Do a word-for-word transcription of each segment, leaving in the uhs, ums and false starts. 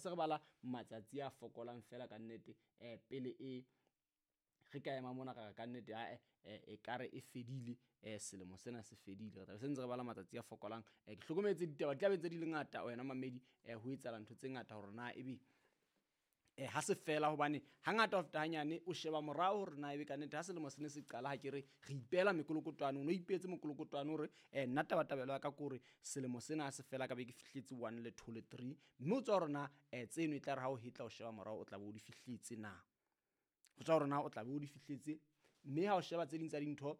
se re bala matsatsi a fokolang fela ka nnete um pele e re ka ema mona ra re ka nnete ae e kare e fedile um selemo sena se fedile re tlabe se ntse re bala matsatsi a fokolang um ke hlokometse ditaba di tlabe ntse di le ngata wena mamedi um ho etsahala ntho tse ngata hore na ebe um ha se fela hobane hangata ho feta hanyane o sheba morao hore na ebe kannete ha selemo se ne se qala ha ke re re ipehela mekolokotwane o no ipehetse mokolokotwane hore um nna tabatabelo ya ka ke hore selemo sena ha se fela ka be ke fihletse one le two le three mme o tswa hore na um tseno e tla re ha o hetla o sheba morao o tla be o di fihletse na ho tswa hore na o tla be o di fihletse mme ha o sheba tse ding tsa dintho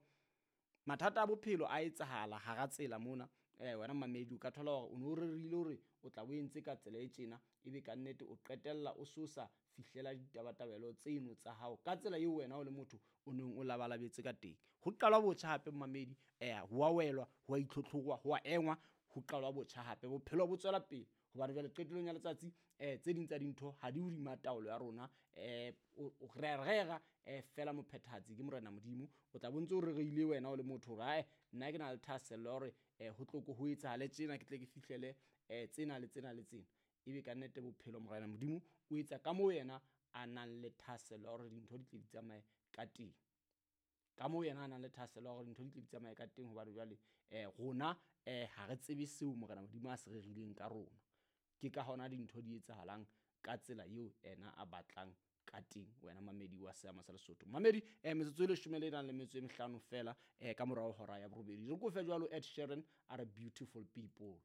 mathata a bophelo a etsahala hara tsela mona um wena mamedi o ka thola hore o no rerile hore o tla bo entse ka tsela e tjena ebe kannete o qetella o so sa fihlela ditabatabelo tseno tsa hao ka tsela eo wena o le motho o neng o labalabetse ka teng ho qalwa botjha hape mamedi um ho a welwa ho a itlhotlhorwa ho a engwa ho qalwa botjha hape bophelo bo tswela pele hobane jwale qetellong ya letsatsi um tse ding tsa dintho ha di hodima taolo ya rona um re a rera um fela mophethahatsi ke morena modimo o tla bo ntse o rereile wena o le motho hore ae nna ke na le thahasello ya hore um ho tlo ko ho etsahale tjena ke tle ke fihlele um tsena le tsena le tsena ebe kannete bophelo morena modimo o etsa ka moo yena a nang le thahasello ya hore dintho di tle di tsamaye ka teng ka moo yena a nang le thahasello ya hore dintho di tle di tsamaye ka teng hobane jwale um rona um ha re tsebe seo morena modimo a se rerileng ka rona ke ka hona dintho di etsahalang ka tsela eo ena a batlang ka teng wena mamedi wa seama sa lesotho mamedi um metsotso e leshome le nang le metso e mehlano fela um ka morao hora ya borobedi re kofe jwalo Ed Sheeran a re beautiful people